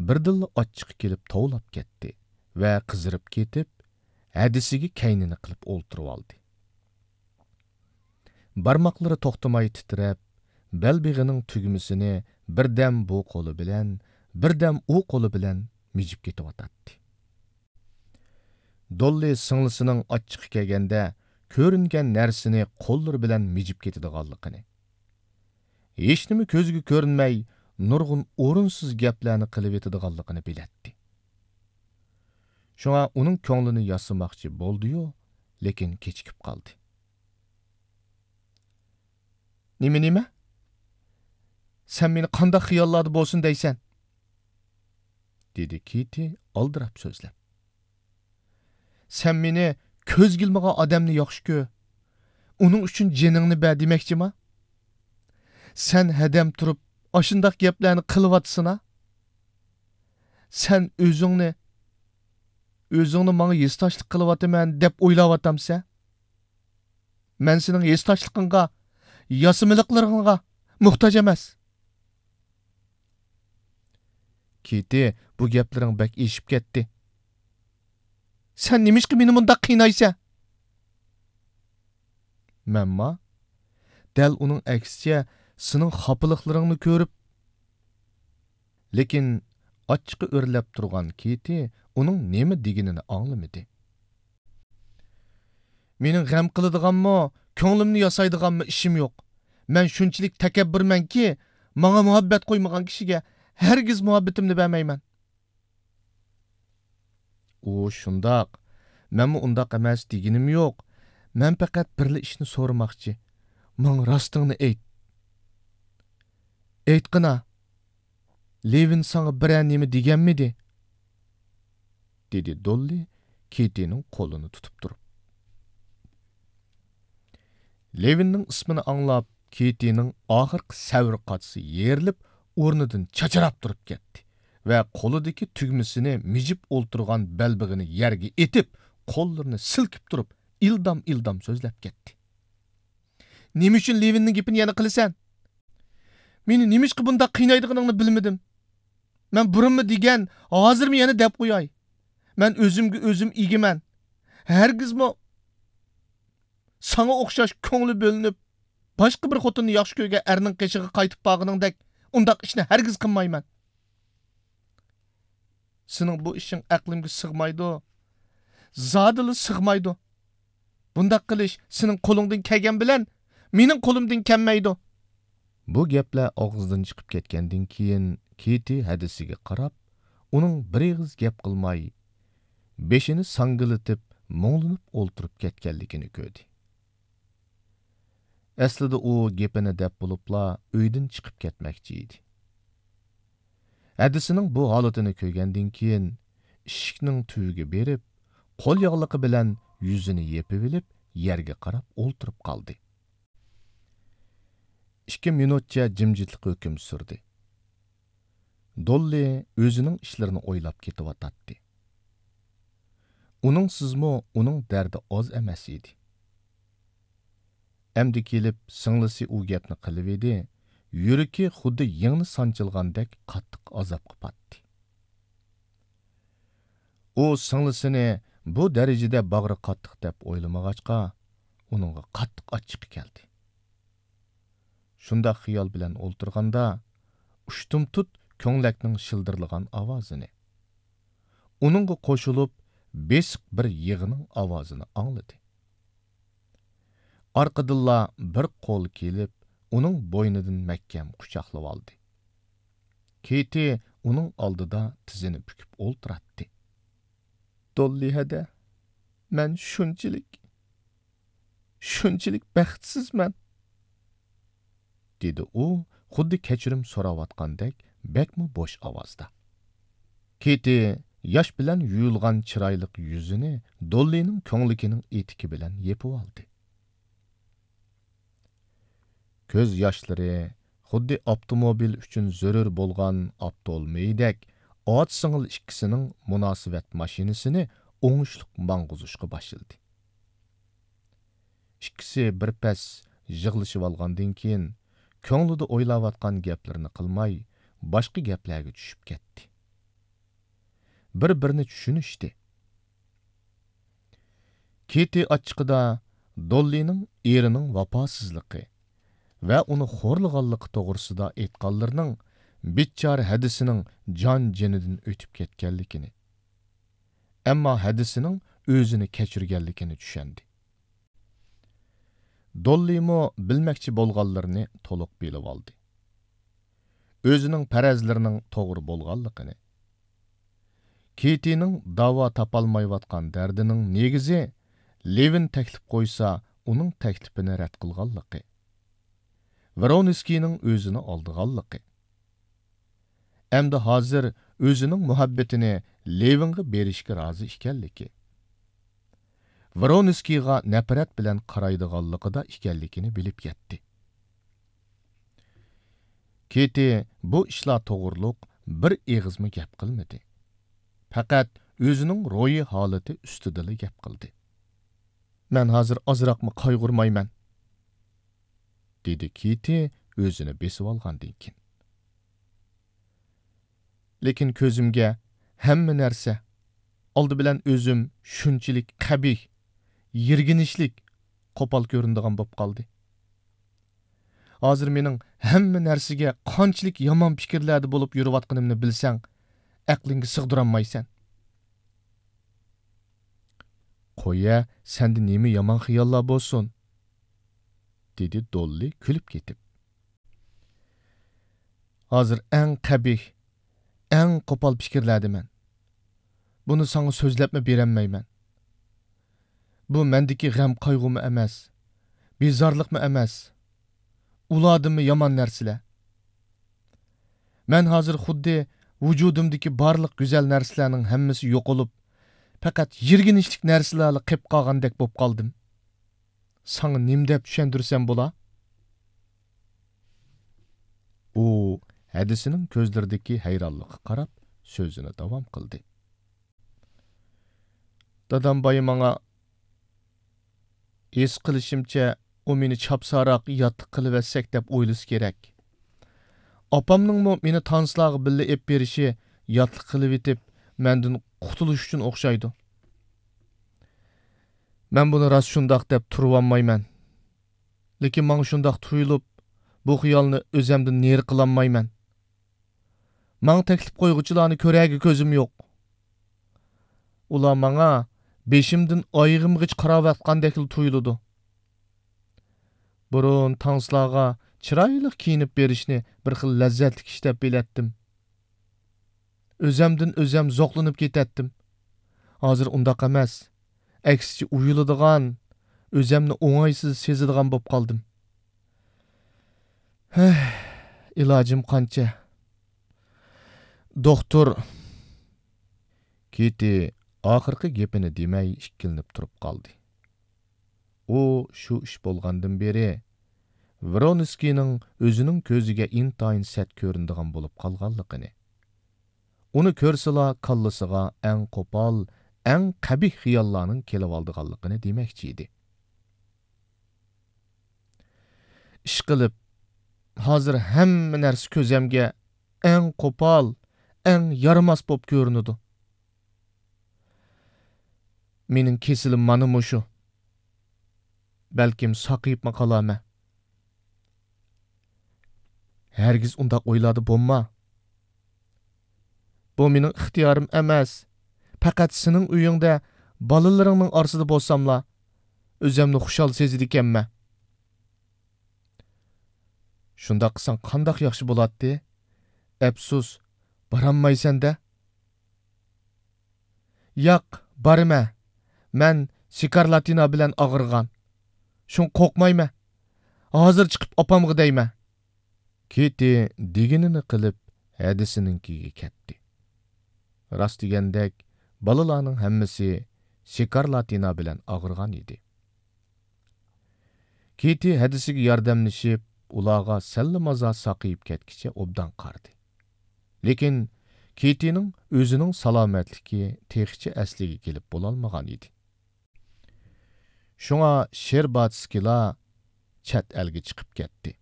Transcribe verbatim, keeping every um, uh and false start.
بىردىنلا ئاچچىقى كېلىپ توۋلاپ كەتتى ۋە قىزىرىپ كېتىپ، ھەدىسىگە كەينىنى قىلىپ ئولتۇرۇۋالدى. بارماقلىرى توختىماي تىترەپ، بەلبېغىنىڭ تۈگمىسىنى بىردەم بۇ قولى بىلەن، بىردەم ئۇ قولى بىلەن مىجىپ كېتىۋاتاتتى. دوللى سىڭلىسىنىڭ ئاچچىقى كەلگەندە كۆرۈنگەن نەرسىنى قوللىرى بىلەن مىجىپ كېتىدىغانلىقىنى، ھېچنېمە كۆزىگە كۆرۈنمەي، نۇرغۇن ئورۇنسىز گەپلەرنى قىلىۋېتىدىغانلىقىنى بىلەتتى. شۇڭا ئۇنىڭ كۆڭلىنى ياسىماقچى بولدىيۇ، لېكىن كېچىكىپ قالدى. نېمە، نېمە؟ سەن مېنى قانداق خىياللاردا بولسۇن دەيسەن؟ دېدى كېتى ئالدىراپ سۆزلەپ. سەن مېنى كۆزگە ئىلمىغان ئادەمنى ياخشى كۆر. ئۇنىڭ ئۈچۈن جېنىڭنى بەر دېمەكچىما؟ سەن ھەدەم تۇرۇپ ئاشۇنداق گەپلەرنى قىلىۋاتىسىنا؟ سەن ئۆزۈڭنى، ئۆزۈڭنى ماڭا ھېسداشلىق قىلىۋاتىمەن دەپ ئويلاۋاتامسەن؟ مەن سېنىڭ ھېسداشلىقىڭغا، ياسىمىلىقلىرىڭغا موھتاج ئەمەس. كېتى، بۇ گەپلىرىڭ بەك ئېشىپ كەتتى. سەن نېمىشقا مېنى مۇنداق قىينايسەن؟ مەنما؟ دەل ئۇنىڭ ئەكسىچە سېنىڭ خاپىلىقلىرىڭنى كۆرۈپ. لېكىن ئاچچىقى ئۆرلەپ تۇرغان كېتى ئۇنىڭ نېمە دېگىنىنى ئاڭلىمىدى. مېنىڭ غەم قىلىدىغانمۇ، كۆڭلۈمنى ياسايدىغانمۇ ئىشىم يوق. مەن شۇنچىلىك تەكەببۇرمەنكى، ماڭا مۇھەببەت قويمىغان كىشىگە ھەرگىز مۇھەببىتىمنى بەرمەيمەن. ئۇ شۇنداق، مەنمۇ ئۇنداق ئەمەس دېگىنىم يوق. مەن پەقەت بىرلا ئىشنى سورىماقچى. ماڭا راستىڭنى ئېيت. ئېيتقىنا، لېۋىن ساڭا بىرەر نېمە دېگەنمىدى؟ دېدى دوللى كېتىنىڭ قولىنى تۇتۇپ تۇرۇپ. لېۋىننىڭ ئىسمىنى ئاڭلاپ، كېتىنىڭ ئاخىرقى سەۋر قاچىسى يېرىلىپ، ئورنىدىن چاچراپ تۇرۇپ كەتتى ۋە قولىدىكى تۈگمىسىنى مىجىپ ئولتۇرغان بەلبېغىنى يەرگە ئېتىپ، قوللىرىنى سىلكىپ تۇرۇپ، ئىلدام-ئىلدام سۆزلەپ كەتتى. نېمە ئۈچۈن لېۋىننىڭ گېپىنى يەنە قىلىسەن؟ مېنى نېمىشقا بۇنداق قىينايدىغىنىڭنى بىلمىدىم. مەن بۇرۇنمۇ دېگەن، ھازىرمۇ يەنە دەپ قوياي. مەن ئۆزۈمگە ئۆزۈم ئىگىمەن. ھەرگىزمۇ ساڭا ئوخشاش كۆڭلى بۆلۈنۈپ، باشقا بىر خوتۇننى ياخشى كۆرگەن ئەرنىڭ قېشىغا قايتىپ بارغىنىڭدەك ئۇنداق ئىشنى ھەرگىز قىلمايمەن. سېنىڭ بۇ ئىشىڭ ئەقلىمگە سىغمايدۇ. زادىلا سىغمايدۇ. بۇنداق قىلىش سېنىڭ قولۇڭدىن كەلگەن بىلەن مېنىڭ قولۇمدىن كەلمەيدۇ. بۇ گەپلەر ئاغزىدىن چىقىپ كەتكەندىن كېيىن، كېتى ھەدىسىگە قاراپ، ئۇنىڭ بىر ئېغىز گەپ قىلماي، بېشىنى ساڭگىلىتىپ، مۇڭلىنىپ ئولتۇرۇپ كەتكەنلىكىنى كۆردى. ئەسلىدە ئۇ گېپىنى دەپ بولۇپلا ئۆيدىن چىقىپ كەتمەكچى ئىدى. ھەدىسىنىڭ بۇ ھالىتىنى كۆرگەندىن كېيىن، ئىشىكنىڭ تۈۋىگە بېرىپ، قول ياغلىقى بىلەن يۈزىنى يېپىۋېلىپ، يەرگە قاراپ ئولتۇرۇپ قالدى. ئىككى مىنۇتچە جىمجىتلىق ھۆكۈم سۈردى. دوللى ئۆزىنىڭ ئىشلىرىنى ئويلاپ كېتىۋاتاتتى. ئۇنىڭسىزمۇ ئۇنىڭ دەردى ئاز ئەمەس ئىدى. ئەمدى كېلىپ سىڭلىسى ئۇ گەپنى قىلىۋىدى، يۈرىكى خۇددى يىڭنە سانچىلغاندەك قاتتىق ئازابقا پاتتى. ئۇ سىڭلىسىنى بۇ دەرىجىدە باغرى قاتتىق دەپ ئويلىمىغاچقا، ئۇنىڭغا قاتتىق ئاچچىقى كەلدى. شۇنداق خىيال بىلەن ئولتۇرغاندا، ئۇشتۇمتۇت كۆڭلەكنىڭ شىلدىرلىغان ئاۋازىنى، ئۇنىڭغا قوشۇلۇپ بېسىق بىر يىغىنىڭ ئاۋازىنى ئاڭلىدى. ئارقىدىنلا بىر قول كېلىپ، ئۇنىڭ بوينىدىن مەھكەم قۇچاقلىۋالدى. كېتى ئۇنىڭ ئالدىدا تىزىنى پۈكۈپ ئولتۇراتتى. دوللى ھەدە، مەن شۇنچىلىك، شۇنچىلىك بەختسىزمەن، دېدى ئۇ خۇددى كەچۈرۈم سوراۋاتقاندەك بەكمۇ بوش ئاۋازدا. كېتى ياش بىلەن يۇيۇلغان چىرايلىق يۈزىنى دوللىنىڭ كۆڭلىكىنىڭ ئېتىكى بىلەن يېپىۋالدى. كۆز ياشلىرى خۇددى ئاپتوموبىل ئۈچۈن زۆرۈر بولغان ئاپتولمېيدەك ئاچا-سىڭىل ئىككىسىنىڭ مۇناسىۋەت ماشىنىسىنى ئوڭۇشلۇق ماڭغۇزۇشقا باشلىدى. ئىككىسى بىر پەس يىغلىشىۋالغاندىن كېيىن، كۆڭلىدە ئويلاۋاتقان گەپلىرىنى قىلماي، باشقا گەپلەرگە چۈشۈپ كەتتى. بىر-بىرىنى چۈشىنىشتى. كېتى ئاچچىقىدا دوللىنىڭ ئېرىنىڭ ۋاپاسىزلىقى ۋە ئۇنى خورلىغانلىقى توغرىسىدا ئېيتقانلىرىنىڭ بىچارە ھەدىسىنىڭ جان-جېنىدىن ئۆتۈپ كەتكەنلىكىنى، ئەمما ھەدىسىنىڭ ئۆزىنى كەچۈرگەنلىكىنى چۈشەندى. دوللىمۇ بىلمەكچى بولغانلىرىنى تولۇق بىلىۋالدى. ئۆزىنىڭ پەرەزلىرىنىڭ توغرا بولغانلىقىنى، كېتىنىڭ داۋا تاپالمايۋاتقان دەردىنىڭ نېگىزى لېۋىن تەكلىپ قويسا ئۇنىڭ تەكلىپىنى رەت قىلغانلىقى، ۋرونسكىينىڭ ئۆزىنى ئالدىغانلىقى، ئەمدى ھازىر ئۆزىنىڭ مۇھەببىتىنى لېۋىنغا بېرىشكە رازى ئىكەنلىكى، ۋرونسكىيغا نەپرەت بىلەن قارايدىغانلىقىدا ئىكەنلىكىنى بىلىپ يەتتى. كېتى بۇ ئىشلار توغرۇلۇق بىر ئېغىزمۇ گەپ قىلمىدى. پەقەت ئۆزىنىڭ روھىي ھالىتى ئۈستىدىلا گەپ قىلدى. «مەن ھازىر ئازراقمۇ قايغۇرمايمەن»، دېدى كېتى ئۆزىنى بېسىۋالغاندىن كېيىن. لېكىن كۆزۈمگە ھەممە نەرسە، ئالدى بىلەن ئۆزۈم شۇنچىلىك قەبىھ، يىرگىنچلىك، قوپال كۆرۈنىدىغان بولۇپ قالدى. ھازىر مېنىڭ ھەممە نەرسىگە قانچىلىك يامان پىكىرلەردە بولۇپ يۈرۈۋاتقىنىمنى بىلسەڭ، ئەقلىڭگە سىغدۇرالمايسەن. «قويە، سەندە نېمە يامان خىياللار بولسۇن؟» دېدى دوللى كۈلۈپ كېتىپ. «ھازىر ئەڭ قەبىھ، ئەڭ قوپال پىكىرلەردىمەن. بۇنى ساڭا سۆزلەپمۇ بېرەلمەيمەن. بۇ مەندىكى غەم-قايغۇمۇ ئەمەس، بىزارلىقمۇ ئەمەس. ئۇلاردىنمۇ يامان نەرسىلەر. مەن ھازىر خۇددى ۋۇجۇدۇمدىكى بارلىق گۈزەل نەرسىلەرنىڭ ھەممىسى يوقىلىپ، پەقەت يىرگىنچلىك نەرسىلەرلا قېپ قالغاندەك بولۇپ قالدىم. ساڭا نېمە دەپ چۈشەندۈرسەم بولا؟» ئۇ ھەدىسىنىڭ كۆزلىرىدىكى ھەيرانلىققا قاراپ سۆزىنى داۋام قىلدى. «دادام بايا ماڭا، ھېس قىلىشىمچە، ئۇ مېنى چاپسانراق ياتلىق قىلىۋەتسەك دەپ ئويلىسا كېرەك. ئاپامنىڭمۇ مېنى تانسىلارغا بىللە ئېلىپ بېرىشى، ياتلىق قىلىۋېتىپ، مەندىن قۇتۇلۇش ئۈچۈن ئوخشايدۇ. مەن بۇنى راست شۇنداق دەپ تۇرۇۋالمايمەن. لېكىن ماڭا شۇنداق تۇيۇلۇپ، بۇ خىيالنى ئۆزەمدىن نېرى قىلالمايمەن. ماڭا تەكلىپ قويغۇچىلارنى كۆرەرگە كۆزۈم يوق. ئۇلار ماڭا بېشىمدىن ئايىغىمغىچە قاراۋاتقاندەكلا تۇيۇلىدۇ. بۇرۇن تانسىلارغا چىرايلىق كىيىنىپ بېرىشنى بىر خىل لەززەتلىك ئىش دەپ بىلەتتىم. ئۆزەمدىن ئۆزەم زوقلىنىپ كېتەتتىم. ھازىر ئۇنداق ئەمەس. ئەكسىچە ئۇيىلىدىغان، ئۆزەمنى ئوڭايسىز سېزىدىغان بولۇپ قالدىم. ھەھ، ئىلاجىم قانچە؟ دوختۇر.» كېتى ئاخىرقى گېپىنى دېمەي ئىككىلىنىپ تۇرۇپ قالدى. ئۇ شۇ ئىش بولغاندىن بېرى ۋرونسكىينىڭ ئۆزىنىڭ كۆزىگە ئىنتايىن سەت كۆرۈنىدىغان بولۇپ قالغانلىقىنى، ئۇنى كۆرسىلا كاللىسىغا ئەڭ قوپال، ئەڭ قەبىھ خىياللارنىڭ كېلىۋالىدىغانلىقىنى دېمەكچى ئىدى. ئىشقىلىپ، ھازىر ھەممە نەرسە كۆزەمگە ئەڭ قوپال، ئەڭ يارىماس بولۇپ كۆرۈنىدۇ. مېنىڭ كېسىلىم مانا مۇشۇ. بەلكىم ساقىيىپمۇ قالارمەن. ھەرگىز ئۇنداق ئويلاردا بولما. بۇ مېنىڭ ئىختىيارىم ئەمەس. پەقەت سېنىڭ ئۆيۈڭدە، بالىلىرىڭنىڭ ئارىسىدا بولساملا، ئۆزەمنى خۇشال سېزىدىكەنمەن. شۇنداق قىلساڭ قانداق ياخشى بولاتتى؟ ئەپسۇس، بارالمايسەن-دە. ياق، بارىمەن. مەن سكارلاتىنا بىلەن ئاغرىغان. شۇڭا قورقمايمەن. ھازىر چىقىپ ئاپامغا دەيمەن. كېتى دېگىنىنى قىلىپ، ھەدىسىنىڭكىگە كەتتى. راست دېگەندەك، بالىلارنىڭ ھەممىسى سكارلاتىنا بىلەن ئاغرىغان ئىدى. كېتى ھەدىسىگە ياردەملىشىپ، ئۇلارغا سەللىمازا ساقىيىپ كەتكىچە ئوبدان قارىدى. لېكىن كېتىنىڭ ئۆزىنىڭ سالامەتلىكى تېخىچە ئەسلىگە كېلىپ بولالمىغان ئىدى. شۇڭا شېرباتسكىلار چەت ئەلگە چىقىپ كەتتى.